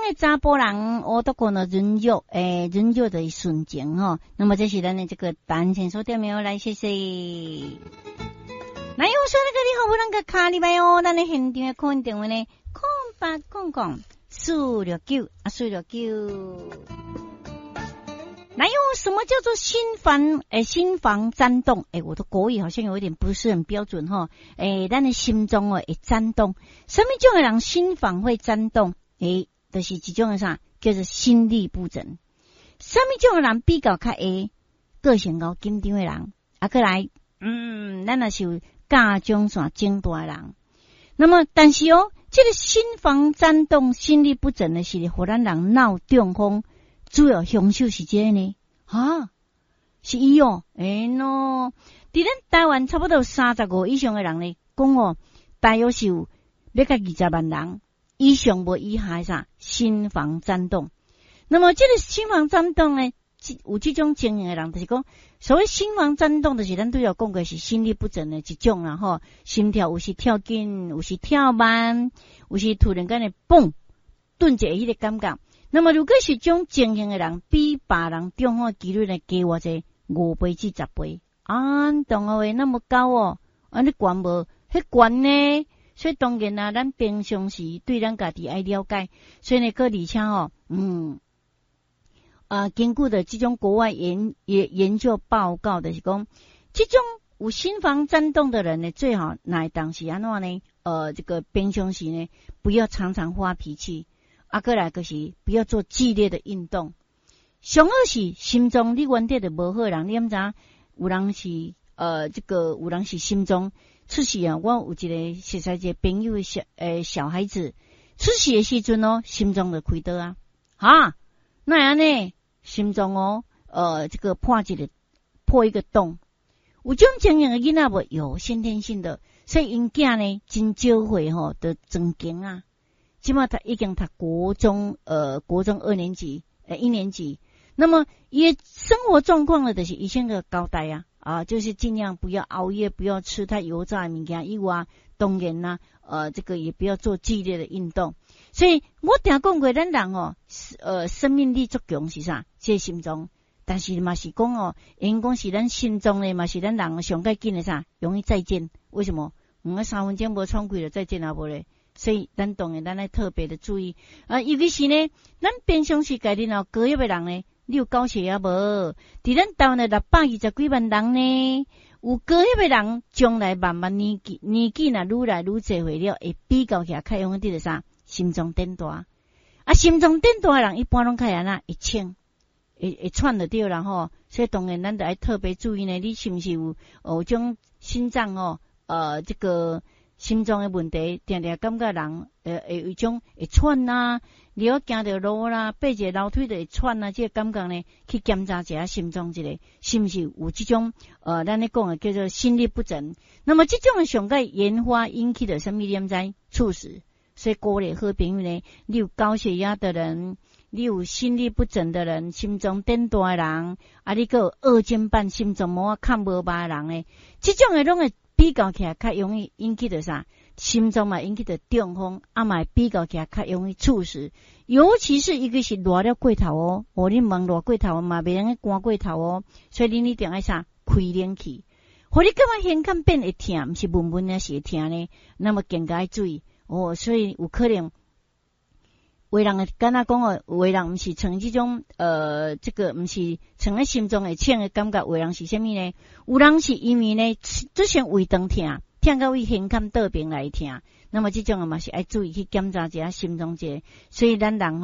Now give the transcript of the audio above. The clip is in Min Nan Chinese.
的查埔人，我都講了潤弱，欸，潤弱的純情吼。那麼這是咱的這個單線所點名來，謝謝。來，我說那個你好，我那個卡裡面哦，咱的現場的 call in 電話呢，0800 469啊，四六九。來喲，什麼叫做心房？欸，心房顫動？欸，我的國語好像有一點不是很標準哈。欸，咱的心臟哦會顫動，啥物種的人心房會顫動？欸，就是一種的啥，叫做心律不整。啥物種的人比較較會個性較緊張的人？啊，閣來，咱若是有甲狀腺增大的人，那麼但是哦，這個心房顫動、心律不整的是，予咱人腦中風。主要兇手是這個呢？哈，是伊哦，欸喏，佇咱台灣差不多有35以上的人呢，講哦，大約是有欲共20萬人以上無以下的啥心房顫動。那麼這個心房顫動呢，有這種情形的人，就是講所謂心房顫動，就是咱拄才講過是心律不整的一種啦，吼，心跳有時跳緊，有時跳慢，有時突然間會嘣頓一下彼個感覺。那麼，如果是這種情形的人，比別人中風的幾率呢，加偌濟5倍至10倍，啊，同學會那麼高哦，啊，你懸無？彼懸呢？所以當然啊，咱平常時對咱家己愛了解，所以呢，閣而且吼，啊，根據的這種國外研究報告，就是講，這種有心房顫動的人呢，最好乃當時按怎呢？這個平常時呢，不要常常發脾氣。啊，閣來就是不要做劇烈的運動。上好是心臟你原底就無好的人，你敢知影？有人是這個有人是心臟出事啊。我有一個熟似一個朋友的小孩子出世的時陣哦，心臟就開刀啊，哈，哪會按呢？心臟哦，這個破一個洞。有這種情形的囡仔無？有先天性的，所以𪜶囝呢真少歲吼，就裝弓啊。這馬他已經讀國中，國中二年級，一年級。那麼伊生活狀況呢，就是醫生的交代啊，啊，就是盡量不要熬夜，不要吃太油炸的物件以外，當然啦，這個也不要做劇烈的運動。所以我定講過，咱人哦，生命力足強是啥？這個心臟。但是嘛是講哦，𪜶講是咱心臟呢，嘛是咱人上較緊的啥？容易再見。為什麼？我3分鐘無喘氣就再見啊，無咧。所以咱當然咱愛特別的注意啊，尤其是呢，咱平常時家己若高血壓的人呢，你有高血壓無？佇咱台灣的620幾萬人呢，有高血壓的人，將來慢慢年紀若愈來愈濟歲了，會比較起來較容易得啥？心臟轉大。啊，心臟轉大的人一般攏較會按怎？會喘，會喘就對啦吼。所以當然咱著愛特別注意呢，你是毋是有種心臟哦？這個心臟的問題，定定感覺人會有一種會喘啊，你要行著路啦，爬一個樓梯就會喘啊，這個感覺呢，去檢查一下心臟一下，是毋是有這種咱咧講的叫做心律不整。那麼這種上蓋原發引起的啥物你毋知？猝死。所以鼓勵好朋友呢，你有高血壓的人，你有心律不整的人，心臟轉大的人，啊，你閣有二尖瓣心臟膜較無肉的人呢，這種的攏會比較起來較容易引起著啥？心臟嘛引起著中風，啊嘛會比較起來較容易猝死。尤其是一個是熱了過頭哦，哦，你毋通熱過頭嘛，袂用寒過頭哦，所以恁一定愛啥？開冷氣。予你感覺胸坎變會疼，毋是悶悶的，是會疼呢？那麼更加愛注意哦。所以有可能，有的人會敢若講哦，有的人毋是像這種這個毋是像咧心臟會喘的感覺，有的人是啥物呢？有人是因為呢，出現胃腸疼，疼到位胸坎倒邊來疼。那麼這種嘛是愛注意去檢查一下心臟一下。所以咱人。